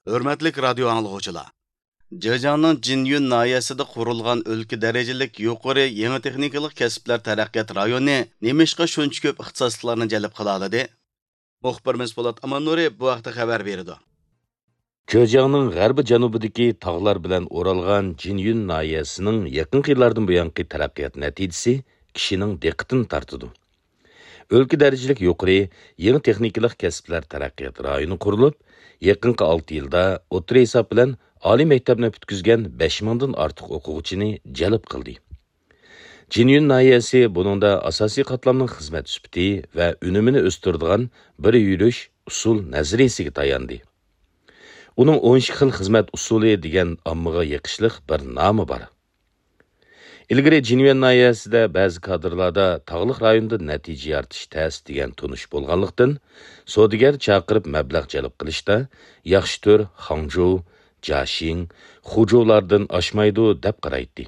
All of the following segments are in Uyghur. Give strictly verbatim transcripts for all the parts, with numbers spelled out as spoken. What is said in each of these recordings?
ھۆرمەتلىك رادىيو ئاڭلىغۇچىلار! جېجياڭنىڭ جىنيۈن ناھىيەسىدە قۇرۇلغان ئۆلكە دەرىجىلىك يۇقىرى يېڭى تېخنىكىلىق كەسىپلەر تەرەققىيات رايونى نېمىشقا شۇنچە كۆپ ئىختىساسلىقلارنى جەلپ قىلالىدى؟ مۇخبىرىمىز پولات ئاماننۇرى بۇ ھەقتە خەۋەر بېرىدۇ. جېجياڭنىڭ غەربىي جەنۇبىدىكى تاغلار بىلەن ئورالغان جىنيۈن ناھىيەسىنىڭ يېقىنقى يىللاردىن بۇيانقى تەرەققىيات نەتىجىسى كىشىنىڭ دىققىتىنى تارتىدۇ. ئۆلكە دەرىجىلىك يۇقىرى يېڭى تېخنىكىلىق كەسىپلەر تەرەققىيات رايونى قۇرۇلۇپ، يېقىنقى ئالتە يىلدا ئوتتۇرا ھېساب بىلەن ئالىي مەكتەپنى پۈتكۈزگەن بەش مىڭدىن ئارتۇق ئوقۇغۇچىنى جەلپ قىلدى. جىنيۈن ناھىيەسى بۇنىڭدا ئاساسىي قاتلامنىڭ خىزمەت سۈپىتى ۋە ئۈنۈمىنى ئۆستۈرىدىغان بىر يۈرۈش ئۇسۇل نەزەرىيەسىگە تاياندى. ئۇنىڭ ئون ئىككى خىل خىزمەت ئۇسۇلى دېگەن ئاممىغا يېقىشلىق بىر نامى بار. ئىلگىرى جىنيۈەن ناھىيەسىدە بەزى كادىرلاردا تاغلىق رايوندا نەتىجە يارىتىش تەس دېگەن تونۇش بولغانلىقتىن، سودىگەر چاقىرىپ مەبلەغ جەلپ قىلىشتا ياخشى تۈر خاڭجۇ، جاشىڭ، خۇجۇلاردىن ئاشمايدۇ دەپ قارايتتى.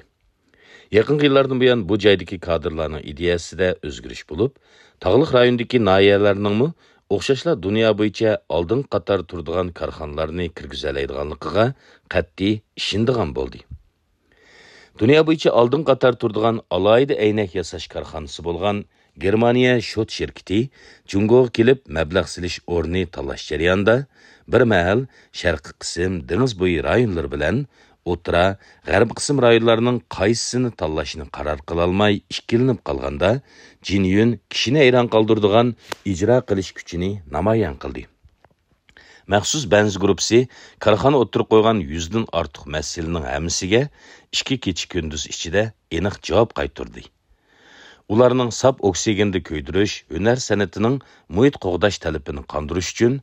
يېقىنقى يىللاردىن بۇيان بۇ جايدىكى كادىرلارنىڭ ئىدىيەسىدە ئۆزگىرىش بولۇپ، تاغلىق رايوندىكى ناھىيەلەرنىڭمۇ ئوخشاشلا دۇنيا بويىچە ئالدىنقى قاتاردا تۇرىدىغان كارخانىلارنى كىرگۈزەلەيدىغانلىقىغا قەتئىي ئىشىنىدىغان بولدى. دۇنيا بويىچە ئالدىنقى قاتاردا تۇرىدىغان ئالاھىدە ئەينەك ياساش كارخانىسى بولغان گېرمانىيە شوت شىركىتى جۇڭگوغا كېلىپ مەبلەغ سېلىش ئورنى تاللاش جەريانىدا، بىر مەھەل شەرقىي قىسىم، دېڭىز بويى رايونلىرى بىلەن ئوتتۇرا، غەربىي قىسىم رايونلارنىڭ قايسىسىنى تاللاشنى قارار قىلالماي ئىككىلىنىپ قالغاندا، جىنيۈن كىشىنى ھەيران قالدۇرىدىغان ئىجرا قىلىش كۈچىنى نامايان قىلدى. مەخسۇس بەنزە گۇرۇپپىسى كارخانا ئوتتۇرىغا قويغان يۈزدىن ئارتۇق مەسىلىنىڭ ھەممىسىگە ئىككى كېچە-كۈندۈز ئىچىدە ئېنىق جاۋاب قايتۇردى. ئۇلارنىڭ ساپ ئوكسىگېندا كۆيدۈرۈش ھۈنەر سەنئىتىنىڭ مۇھىت قوغداش تەلىپىنى قاندۇرۇش ئۈچۈن،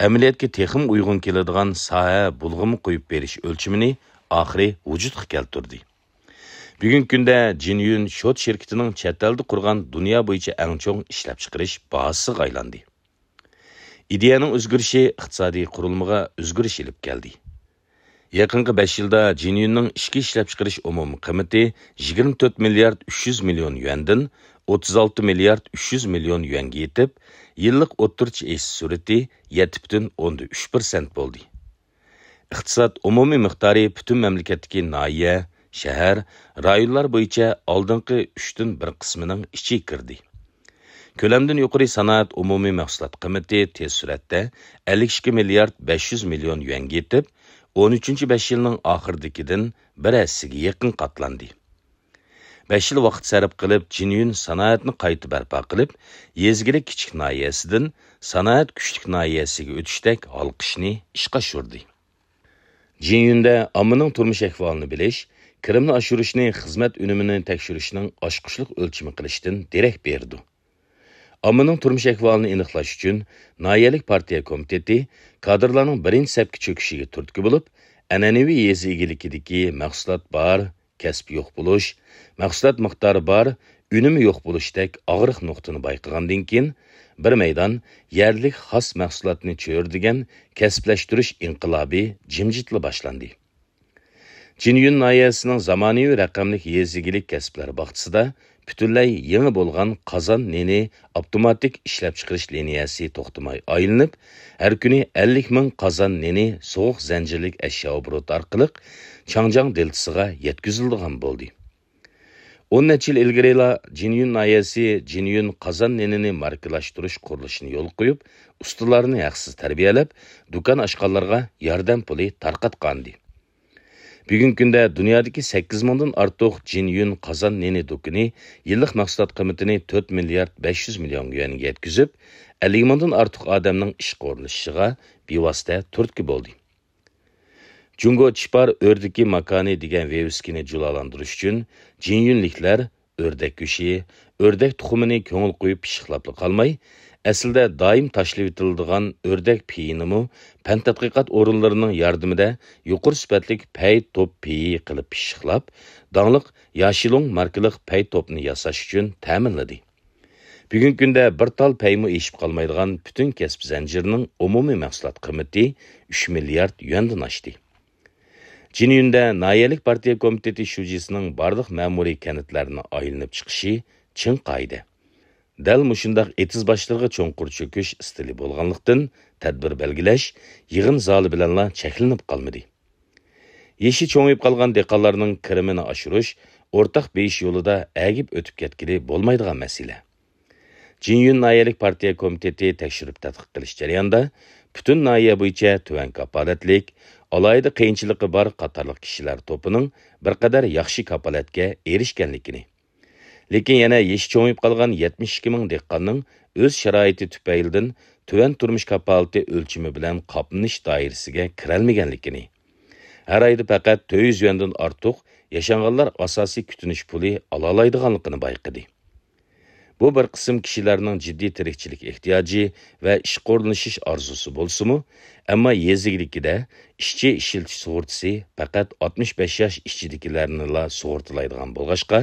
ئەمەلىيەتكە تېخىمۇ ئۇيغۇن كېلىدىغان ساھە بۇلغىما قويۇپ بېرىش ئۆلچىمىنى ئاخىرى ۋۇجۇدقا كەلتۈردى. بۈگۈنكى كۈندە جىنيۈن شوت شىركىتىنىڭ چەت ئەلدە قۇرغان دۇنيا بويىچە ئەڭ چوڭ ئىشلەپچىقىرىش بازىسىغا ئايلاندى. ئىدىيەنىڭ ئۆزگىرىشى ئىقتىسادىي قۇرۇلمىغا ئۆزگىرىش ئېلىپ كەلدى. يېقىنقى بەش يىلدا جىنيۈننىڭ ئىچكى ئىشلەپچىقىرىش ئومۇمىي قىممىتى يىگىرمە تۆت مىليارد ئۈچ يۈز مىليون يۈەندىن ئوتتۇز ئالتە مىليارد ئۈچ يۈز مىليون يۈەنگە يېتىپ، يىللىق ئوتتۇرىچە ئېشىش سۈرئىتى يەتتە پۈتۈن ئوندىن ئۈچ پىرسەنت بولدى. ئىقتىساد ئومۇمىي مىقدارى پۈتۈن مەملىكەتتىكى ناھىيە، شەھەر، رايونلار بويىچە ئالدىنقى ئۈچتىن بىر قىسمىنىڭ ئىچىگە كىردى. كۆلەمدىن يۇقىرى سانائەت ئومۇمىي مەھسۇلات قىممىتى تېز سۈرئەتتە ئەللىك ئىككى مىليارد بەش يۈز مىليون يۈەنگە يېتىپ، ئون ئۈچىنچى بەش يىلنىڭ ئاخىرىدىكىدىن بىر ھەسسىگە يېقىن قاتلاندى. بەش يىل ۋاقىت سەرپ قىلىپ، جىنيۈن سانائەتنى قايتا بەرپا قىلىپ، يېزا ئىگىلىك كىچىك ناھىيەسىدىن سانائەت كۈچلۈك ناھىيەسىگە ئۆتۈشتەك ھالقىشنى ئىشقا ئاشۇردى. جىنيۈندە ئاممىنىڭ تۇرمۇش ئەھۋالىنى بىلىش، كىرىمنى ئاشۇرۇشنى خىزمەت ئۈنۈمىنى تەكشۈرۈشنىڭ ئاچقۇچلۇق ئۆلچىمى قىلىشتىن دېرەك بېرىدۇ. ئاممىنىڭ تۇرمۇش ئەھۋالىنى ئېنىقلاش ئۈچۈن، ناھىيەلىك پارتىيە كومىتېتى كادىرلارنىڭ بىرىنچى سەپكە چۆكۈشىگە تۈرتكە بولۇپ، ئەنئەنىۋى يېزا ئىگىلىكىدىكى مەھسۇلات بار، كەسىپ يوق بولۇش، مەھسۇلات مىقدارى بار، ئۈنۈمى يوق بولۇشتەك ئاغرىق نۇقتىنى بايقىغاندىن كېيىن، بىر مەيدان يەرلىك خاس مەھسۇلاتنى چۆرىدىگەن كەسىپلەشتۈرۈش ئىنقىلابى جىمجىتلا باشلاندى. جىنيۈن ناھىيەسىنىڭ زامانىۋى رەقەملىك يېزا ئىگىلىك كەسىپلەر باغچىسىدا پۈتۈنلەي يېڭى بولغان قازان نېنى ئاپتوماتىك ئىشلەپچىقىرىش لىنىيەسى توختىماي ئايلىنىپ، ھەر كۈنى ئەللىك مىڭ قازان نېنى سوغۇق زەنجىرلىك ئەشيا ئوبوروتى ئارقىلىق چاڭجياڭ دېلتىسىغا يەتكۈزۈلىدىغان بولدى. ئون نەچچە يىل ئىلگىرىلا جىنيۈن ناھىيەسى جىنيۈن قازان نېنىنى ماركىلاشتۇرۇش قۇرۇلۇشىنى يولغا قويۇپ، ئۇستىلارنى ھەقسىز تەربىيەلەپ، دۇكان ئاچقانلارغا ياردەم پۇلى تارقاتقانىدى. بۈگۈنكى كۈندە دۇنيادىكى سەككىز مىڭدىن ئارتۇق جىنيۈن قازان نېنى دۇكىنى يىللىق مەھسۇلات قىممىتىنى تۆت مىليارد بەش يۈز مىليون يۈەنگە يەتكۈزۈپ، ئەللىك مىڭدىن ئارتۇق ئادەمنىڭ ئىشقا ئورۇنلىشىشىغا بىۋاسىتە تۈرتكە بولدى. جۇڭگو چىپار ئۆردىكى ماكانى دېگەن ۋىۋىسكىنى جۇلالاندۇرۇش ئۈچۈن جىنيۈنلىكلەر ئۆردەك گۆشى، ئۆردەك تۇخۇمىنى كۆڭۈل قويۇپ پىششىقلاپلا قالماي، ئەسلىدە دائىم تاشلىۋېتىلىدىغان ئۆردەك پېيىنىمۇ پەن تەتقىقات ئورۇنلىرىنىڭ ياردىمىدە يۇقىرى سۈپەتلىك پەي توپ پېيى قىلىپ پىششىقلاپ، داڭلىق ياشىلۇڭ ماركىلىق پەي توپنى ياساش ئۈچۈن تەمىنلىدى. بۈگۈنكى كۈندە بىر تال پەيمۇ ئېشىپ قالمايدىغان پۈتۈن كەسىپ زەنجىرىنىڭ ئومۇمىي مەھسۇلات قىممىتى ئۈچ مىليارد يۈەندىن ئاشتى. جىنيۈندە ناھىيەلىك پارتىيە كومىتېتى شۇجىسىنىڭ بارلىق مەمۇرىي كەنتلەرنى ئايلىنىپ چىقىشى چىڭ قائىدە. دەل مۇشۇنداق ئېتىز باشلىرىغا چوڭقۇر چۆكۈش ئىستىلى بولغانلىقتىن، تەدبىر بەلگىلەش يىغىن زالى بىلەنلا چەكلىنىپ قالمىدى. يېشى چوڭىيىپ قالغان دېھقانلارنىڭ كىرىمىنى ئاشۇرۇش ئورتاق بېيىش يولىدا ئەگىپ ئۆتۈپ كەتكىلى بولمايدىغان مەسىلە. جىنيۈن ناھىيەلىك پارتىيە كومىتېتى تەكشۈرۈپ تەتقىق قىلىش جەريانىدا، پۈتۈن ناھىيە بويىچە تۆۋەن كاپالەتلىك، ئالاھىدە قىيىنچىلىقى بار قاتارلىق كىشىلەر توپىنىڭ بىر قەدەر ياخشى كاپالەتكە ئېرىشكەنلىكىنى، لېكىن يەنە يېشى چوڭىيىپ قالغان يەتمىش ئىككى مىڭ دېھقاننىڭ ئۆز شارائىتى تۈپەيلىدىن تۆۋەن تۇرمۇش كاپالىتى ئۆلچىمى بىلەن قاپلىنىش دائىرىسىگە كىرەلمىگەنلىكىنى، ھەر ئايدا پەقەت تۆت يۈز يۈەندىن ئارتۇق ياشانغانلار ئاساسىي كۈتۈنۈش پۇلى ئالالايدىغانلىقىنى بايقىدى. بۇ بىر قىسىم كىشىلەرنىڭ جىددىي تىرىكچىلىك ئېھتىياجى ۋە ئىشقا ئورۇنلىشىش ئارزۇسى بولسىمۇ، ئەمما يېزا ئىگىلىكىدە ئىشچى ئىشلىتىش سۇغۇرتىسى پەقەت ئاتمىش بەش ياش ئىچىدىكىلەرنىلا سۇغۇرتىلايدىغان بولغاچقا،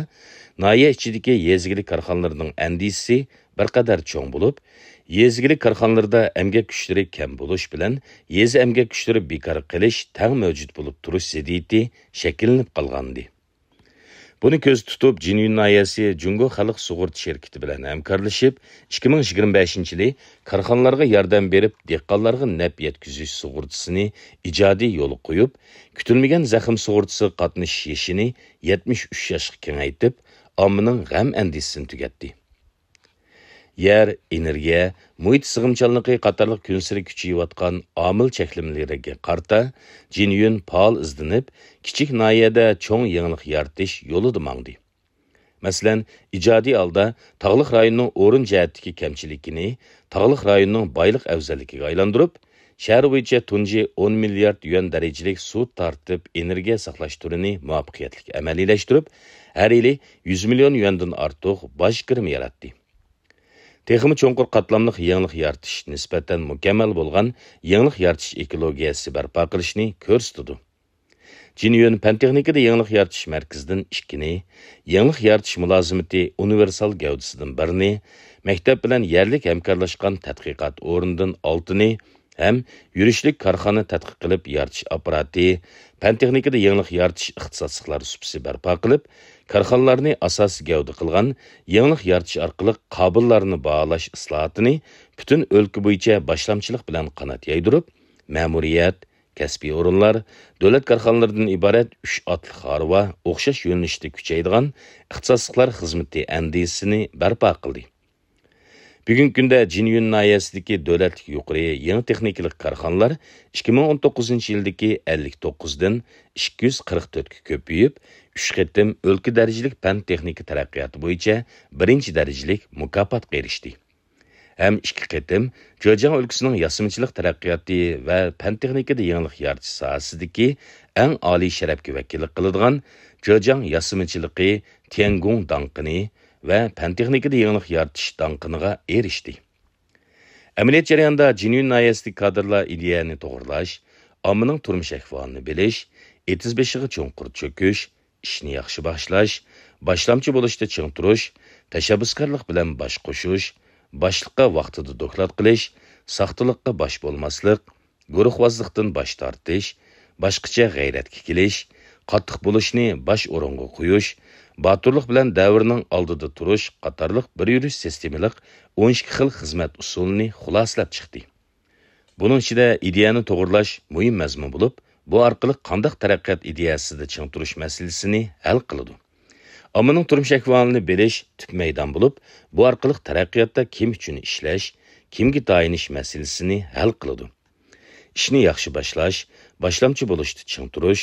ناھىيە ئىچىدىكى يېزا ئىگىلىك كارخانىلىرىنىڭ ئەندىزىسى بىر قەدەر چوڭ بولۇپ، يېزا ئىگىلىك كارخانىلىرىدا ئەمگەك كۈچلىرى كەم بولۇش بىلەن يېزا ئەمگەك كۈچلىرى بىكار قېلىش تەڭ مەۋجۇت بولۇپ تۇرۇش زىددىيىتى شەكىللىنىپ قالغانىدى. بۇنى كۆزدە تۇتۇپ، جىنيۈن ناھىيەسى جۇڭگو خەلق سۇغۇرتا شىركىتى بىلەن ھەمكارلىشىپ، ئىككى مىڭ يىگىرمە بەشىنچى يىلى كارخانىلارغا ياردەم بېرىپ، دېھقانلارغا نەپ يەتكۈزۈش سۇغۇرتىسىنى ئىجادىي يولغا قويۇپ، كۈتۈلمىگەن زەخىم سۇغۇرتىسىغا قاتنىشىش يېشىنى يەتمىش ئۈچ ياشقا كېڭەيتىپ، ئاممىنىڭ غەم-ئەندىشىسىنى تۈگەتتى. يەر، ئېنېرگىيە، مۇھىت سىغىمچانلىقى قاتارلىق كۈنسېرى كۈچىيىۋاتقان ئامىل چەكلىمىلىرىگە قارىتا، جىنيۈن پائال ئىزدىنىپ، كىچىك ناھىيەدە چوڭ يېڭىلىق يارىتىش يولىدا ماڭدى. مەسىلەن، ئىجادىي ھالدا تاغلىق رايوننىڭ ئورۇن جەھەتتىكى كەمچىلىكىنى تاغلىق رايوننىڭ بايلىق ئەۋزەللىكىگە ئايلاندۇرۇپ، شەھەر بويىچە تۇنجى ئون مىليارد يۈەن دەرىجىلىك سۇ تارتىپ ئېنېرگىيە ساقلاش تۈرىنى مۇۋەپپەقىيەتلىك ئەمەلىيلەشتۈرۈپ، ھەر يىلى يۈز مىليون يۈەندىن ئارتۇق باج كىرىمى ياراتتى. تېخىمۇ چوڭقۇر قاتلاملىق يېڭىلىق يارىتىش نىسبەتەن مۇكەممەل بولغان يېڭىلىق يارىتىش ئېكولوگىيەسى بەرپا قىلىشنى كۆرسىتىدۇ. جىنيۈن پەن-تېخنىكىدا يېڭىلىق يارىتىش مەركىزىدىن ئىككىنى، يېڭىلىق يارىتىش مۇلازىمىتى ئۇنىۋېرسال گەۋدىسىدىن بىرنى، مەكتەپ بىلەن يەرلىك ھەمكارلاشقان تەتقىقات ئورنىدىن ئالتىنى ھەم يۈرۈشلۈك كارخانا تەتقىق قىلىپ يارىتىش ئاپپاراتى، پەن-تېخنىكىدا يېڭىلىق يارىتىش ئىختىساسلىقلار سۇپىسى بەرپا قىلىپ، كارخانىلارنى ئاساسىي گەۋدە قىلغان يېڭىلىق يارىتىش ئارقىلىق قابىللارنى باھالاش ئىسلاھاتىنى پۈتۈن ئۆلكە بويىچە باشلامچىلىق بىلەن قانات يايدۇرۇپ، مەمۇرىيەت، كەسپىي ئورۇنلار، دۆلەت كارخانىلىرىدىن ئىبارەت ئۈچ ئاتلىق ھارۋا ئوخشاش يۆنىلىشتە كۈچەيدىغان ئىختىساسلىقلار خىزمىتى ئەندىزىسىنى بەرپا قىلدى. بۈگۈنكى كۈندە جىنيۈن ناھىيەسىدىكى دۆلەتلىك يۇقىرى يېڭى تېخنىكىلىق كارخانىلار ئىككى مىڭ ئون توققۇزىنچى يىلدىكى ئەللىك توققۇزدىن ئىككى يۈز قىرىق تۆتكە كۆپىيىپ، ئۈچ قېتىم ئۆلكە دەرىجىلىك پەن-تېخنىكا تەرەققىياتى بويىچە بىرىنچى دەرىجىلىك مۇكاپاتقا ئېرىشتى. ھەم ئىككى قېتىم جېجياڭ ئۆلكىسىنىڭ ياسىمىچىلىق تەرەققىياتى ۋە پەن-تېخنىكىدا يېڭىلىق يارىتىش ساھەسىدىكى ئەڭ ئالىي شەرەپكە ۋەكىللىك قىلىدىغان جېجياڭ ياسىمىچىلىقى تيەنگۇڭ داڭقىنى ۋە پەن-تېخنىكىدا يېڭىلىق يارىتىش داڭقىنىغا ئېرىشتى. ئەمەلىيەت جەريانىدا جىنيۈن ناھىيەسىدىكى كادىرلار ئىدىيەنى توغرىلاش، ئاممىنىڭ تۇرمۇش ئەھۋالىنى بىلىش، ئېتىز بېشىغا چوڭقۇر چۆكۈش، ئىشنى ياخشى باشلاش، باشلامچى بولۇشتا چىڭ تۇرۇش، تەشەببۇسكارلىق بىلەن باش قوشۇش، باشلىققا ۋاقتىدا دوكلات قىلىش، ساختىلىققا باش بولماسلىق، گۇرۇھۋازلىقتىن باش تارتىش، باشقىچە غەيرەتكە كېلىش، قاتتىق بولۇشنى باش ئورۇنغا قويۇش، باتۇرلۇق بىلەن دەۋرنىڭ ئالدىدا تۇرۇش قاتارلىق بىر يۈرۈش سىستېمىلىق ئون ئىككى خىل خىزمەت ئۇسۇلىنى خۇلاسىلەپ چىقتى. بۇنىڭ ئىچىدە ئىدىيەنى توغرىلاش مۇھىم مەزمۇن بولۇپ، بۇ ئارقىلىق قانداق تەرەققىيات ئىدىيەسىدە چىڭ تۇرۇش مەسىلىسىنى ھەل قىلىدۇ. ئاممىنىڭ تۇرمۇش ئەھۋالىنى بىلىش تۈپ مەيدان بولۇپ، بۇ ئارقىلىق تەرەققىياتتا كىم ئۈچۈن ئىشلەش، كىمگە تايىنىش مەسىلىسىنى ھەل قىلىدۇ. ئىشنى ياخشى باشلاش، باشلامچى بولۇشتا چىڭ تۇرۇش،